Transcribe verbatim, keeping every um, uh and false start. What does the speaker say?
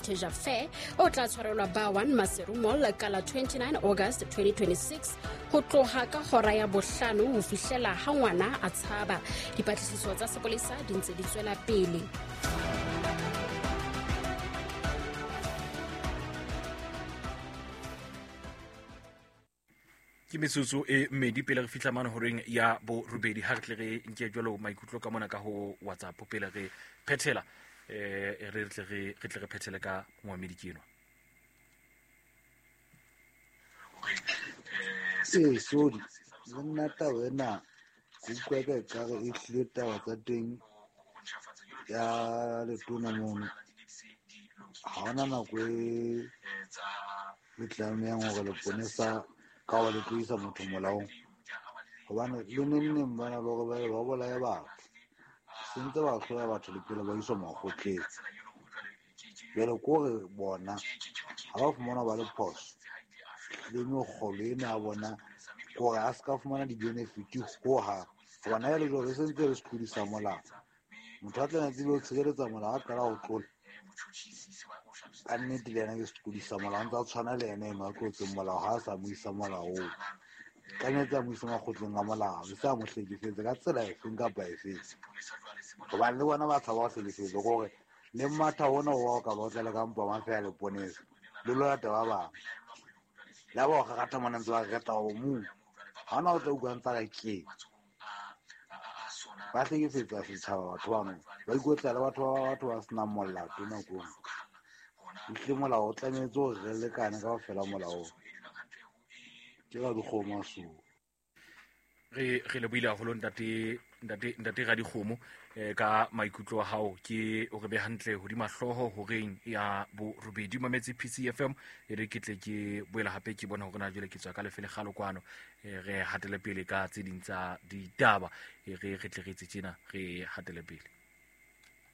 Heritage Affair o tla tshwarelwa Bar One Maseru Mall ka la twenty-nine August twenty twenty-six ho tloha ka hora ya bohlano ho fihlela ha ngwana a tshaba. Dipatlisiso tsa sepolesa di ntse di tswela pele. Ke metsotso e mmedi pele re fihla mane horeng ya borobedi. Ha re tle re nke jwalo maikutlo ka mona ka ho WhatsApp pele re phethela, eh re tle re re tle re phethele ka moamedi ke enwa. Ee, sorry, le nna taba ena ke utlwa ka ekare e hlile taba tsa teng ya letona mono. Ha hona nako e le tlamehang hore leponesa ka hore le tlo isa motho molaong, hobane le neng neng bana le hore ba ba bolaya batho, se ntse ba hloya batho le pele ba iswa makgotleng. Jwale ke hore bona ha ba fumana ba le phoso le mekgolo ena ya bona, ke hore a se ka fumana di-benefit hohang, hobane ha e le jwalo e se ntse le setlodi sa molao. Motho a tla tsebe ho tshireletsa molao a qala ho tlola, ka nnete le yena ke setlodi sa molao, a ntse a tshwana le yena eno a tlotseng molao ha a sa mo isa molaong. Ka nnete a mo isa makgotleng a molao, e se a mo hlekefetse ka tsela efeng kapa efeng, hobane le bona ba tshaba ho hlekefetswa. Ke hore le matha hona ho ka ba o tlele ka mpa mafeha leponesa le lo lata ba bang, le ha ba o kgakgatha mona ntse ba reta o mong, ha hona o tla utlwa ntse a re keng. Ba hlekefetsa setjhaba batho bano, ba ikotla le batho ba batho ba senang molato nako e nngwe. Ehlile molao o tlamehetse hore re lekane kaofela molaong. Ke Radikgomo a suwa. Re re lebohile haholo ntate ntate ntate Radikgomo eh ka maikutlo a hao, ke o re be hantle hodima hlooho horeng ya borobedi. Mametse P C F M e re ke tle ke boela hape ke bona hore na jwale ke tswa ka lefe lekgalo kwano, eh re hatele pele ka tse ding tsa ditaba, e re re tle re tse tjena re hatele pele.